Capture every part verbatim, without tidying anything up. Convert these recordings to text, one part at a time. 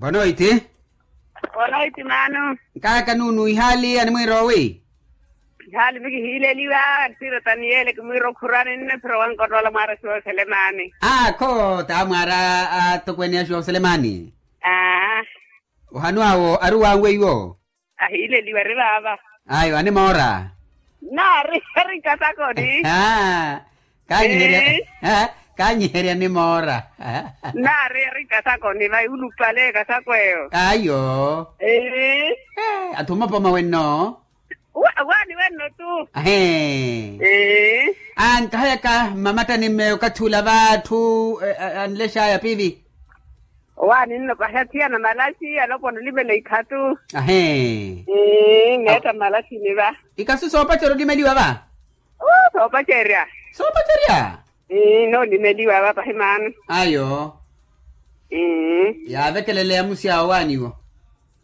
Bonoiti. Bonoiti maano. Nkaaka nuunu ihaali animwiira owi? Ihaali mikihiileliwa. Siro taniyele kimwiira okhurani nne phiro wankotoola mwaara siwa oselemani. Akho taa mwaara atokweene ya siwa oselemani. Ohanu awo ari wanwe iwo. Ahiileliwa ari vaava. Ayo animoora. Naari ari nkasakoni. Kaanyiherya. Kaanyiherya nimoora. Naari ari nkasakoni vai ulupale kasakweyo. Ayo. Atthu mopoma wenno. Waani wenno tu. Ahee. Ankahayaka mmamattani mmeyo okathi ula vaatthu anlexaya pivi. Owaani nno pahi athiyana malaxi alopwana olimela ikhatu. Ahee. Neetta malaxini va. Ikasu soopacerya olimeliwa va. Soopacerya. Soopacerya. Noolimeliwa va pahi maano. Ayo. Yaavekeleleya amusi awo owaani iwo.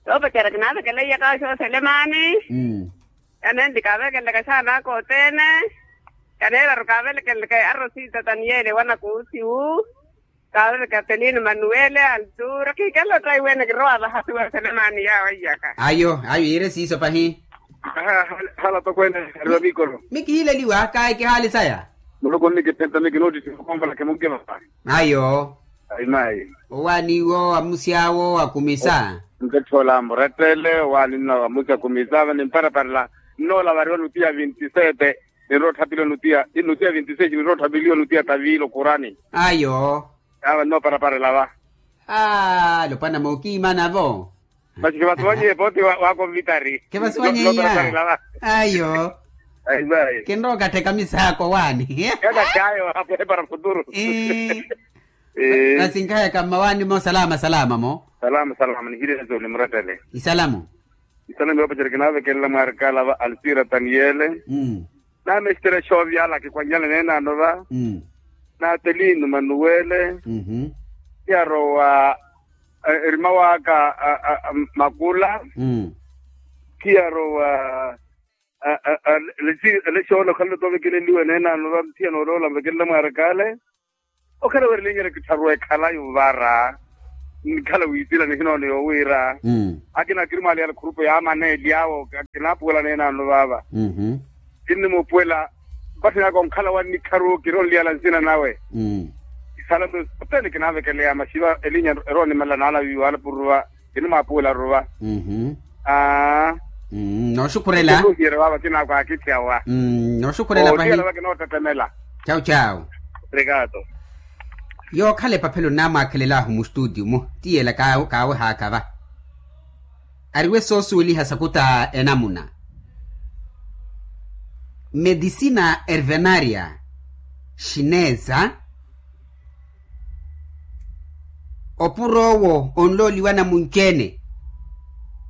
Soopacerya kinaavekeleleyaka xooselemani. Kanenli kaavekelelaka xaana aka othene. Kaneeraru kaavelekelelaka arosita taniyele wana kuusiwu. Kaaroreka telino manuwele altura kihikela ottayi wene kirowa vahasiwa selemani yaawo aiyaka. Ayo ayo yiire siiso pahi. Hala tokweene. Ari va mikolo. Mikihiileliwa kayi kihaali saya. Muloko nnikiphenta mikinoottitthiwa okonvola kimunkivapa. Ayo. Ayi mayi. Owaani iwo amusi awo akumisa. Nketthola murettele owaani nno amusi akumisa va nimparaparela. Nnoola variwa nutiya vinti sete. Ninrowa otthapiliwa nutiya nutiya vinti sete ninrowa otthapiliwa nutiya taviilo kurani. Ayo. Yaava nnooparapara elava. Alopwana mookiimana-vo. Masi khivasuwanyihe pooti. Wakonvitari. Khivasuwanyihiya. Ayo. Kinrowa okattheka misaako waani. Kakatthayo apo epara futuru. Masi nkahayaka mmawaani-mo salama salama-mo. Salama salama nihirezo nimurettele. Isalamu. Isalamu yoopacerya kinaavekelela mwaarikala va alsira taniyele. Naamesitera exoovyala kikwanyala neenaano va. Naatelino manuwele. Khiyarowa erima waka makula. Khiyarowa lexoola okhala tovekeleliwe neenaano va muthiya nooloola nvekelela mwaarikale. Okhala weerelinyerya kittharu ekhalayi ovara. Nkhala wiisila nihinoono yoowiira akina akiri mwaaliyala khurupu yaamana elyawo. Kinaapuwela neenaano vaava. Kinnimuupuwela. Mpatthani aka onkhala wa nnikharu kiri onliyala nsina nawe. Isala mpe othene kinaavekeleya maxiva elinya erowa onimela naalaviwa alapuruva. Kinimwaapuwela aruva. Aa. Nooxukhurela. Ohiyerewa vakinaakwaakitthiyawa. Nooxukhurela pahi. Ohiyerewa kinootettemela. Cawu cawu. Rikato. Yookhala epaphelo nnaamwaakhelelaahu mustutiyu-mu ti yeela kaawehaaka va. Ariwe soosuweliha sakuta enamuna. Medisina ervenaria xineza. Opuro owo onlooliwa namunci-ene.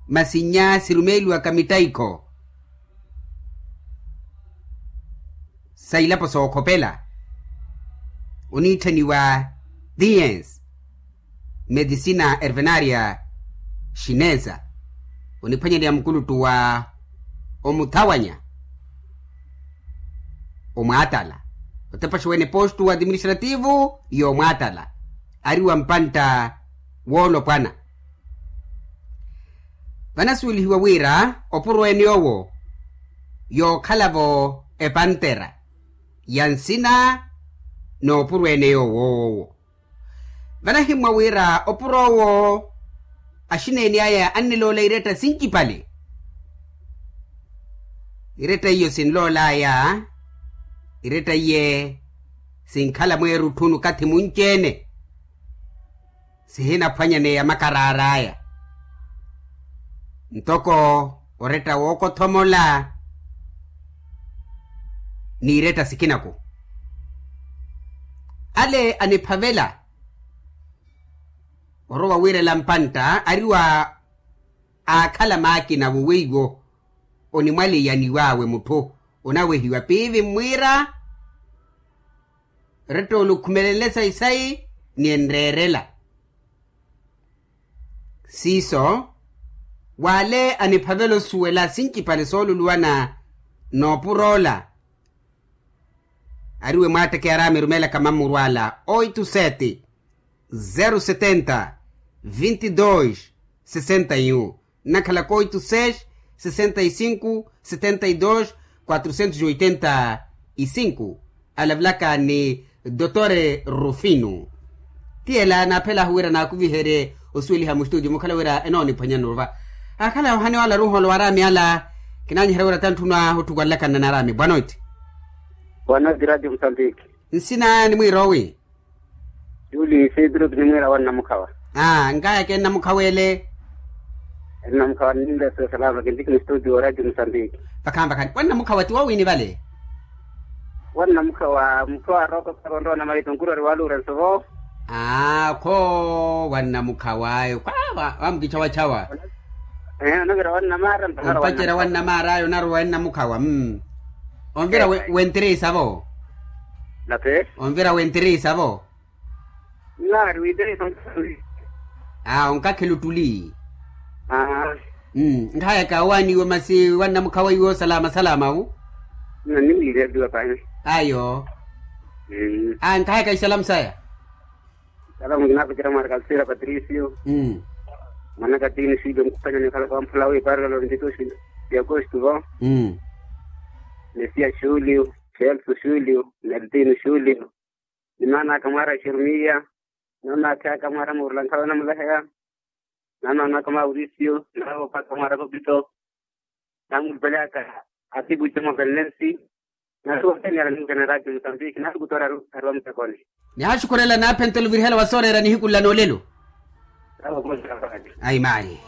Masi nnya sirumeeliwaka mittaikho sa ilapo sookhopela oniitthaniwa diens medisina ervenaria xineza. Oniphwanyaneya mukuluttu wa omuthawanya omwaatala otepaxa wene postu administrativu y'omwaatala ari wa mpantta woolopwana. Vanasuwelihiwa wira opuro ene owo yookhala-vo epantera ya nsina n'opuro ene yoowo. Vanahimmwa wira opuro owo axineeni aya anniloola iretta sincipale. Iretta iyo sinlool'aya iretta iye sinkhala mweerutthunu kathi munci-ene. Sihinaphwanyaneya makaraar'aya ntoko oretta wookothomola n'iretta sikinaku. Ale aniphavela orowa wiirela mpantta ari wa aakhala maakina wo weiwo onimwaleiyaniw'awe mutthu onawehiwa piivi mmwiira. Rettoolo okhumelenle sayi-sayi ni enreerela. Siiso w'ale aniphavela osuwela sincipale sooluluwana n'opur'ola. Ari we mwaattekeyara amirumela kamamuru ala oito sete zero setenta vinte e dois sessenta e um, nakhalaka oito seis sessenta e cinco setenta e dois quatrocentos e oitenta e cinco. Alavalaka ni dotor Rufino. Tiyela naaphelaahu wira naakuviherye osuweliha mustudio mukhala wira enooniphwanya nova. Akhala yohani wala ruholo waraami ala. Kinaanyiherya wira tantthunwa otthukwanlakana naraami bwanoiti. Bwanoiti radio musambiki. Nsina nimwiira owi? Julie isidro kinimwiira wannamukhawa. Aa nkaya kennamukhawa ele. Ennamukhawa nninleso salama kintiki ni studio radio musambiki. Vakhaani vakhaani wannamukhawa ti wowini vale? Wannamukhawa mukhawa aroko karonrowa na maito nkurori waluura nsovo. Aa kho wannamukhawa ayo kwa wamukichawachawa. Ee onavira wannamara mpakara ompacerya wannamara ayo narowa ennamukhawa mm. Onvira wentirisa vo? Nape onvira wentirisa vo? Nari witiri. Aa onkakhela ottuli. Aa. Nkhayaka owaaniwe masi wannamukhawa iwo salama salama wu. Naniwireliwa pani. Ayo. Aa nkhayaka isalamu saya. Salamu kinaapacera mwaari kalsira patricio. Mwanaka tini silio mukupanyani okhalaka wamphula wiiparela lontitusi ya augusto vo. Mesiya julio, celso julio, neltino julio. Ni maana aka mwaara jeremiya. Ni maana aka mwaara murula nkhala onamuleheya. Ni maana aka mwaara aurisio ni maana aka mwaara kopito. Namulupeleyaka atipu juma belnensi. Nasi othene yala ninkana eradio musambiki nalukutoora. Ariwa mutekoni. Nihashukurela naaphentela ovirihela wa sooreera nihiku nla noolelo. Ayi mayi.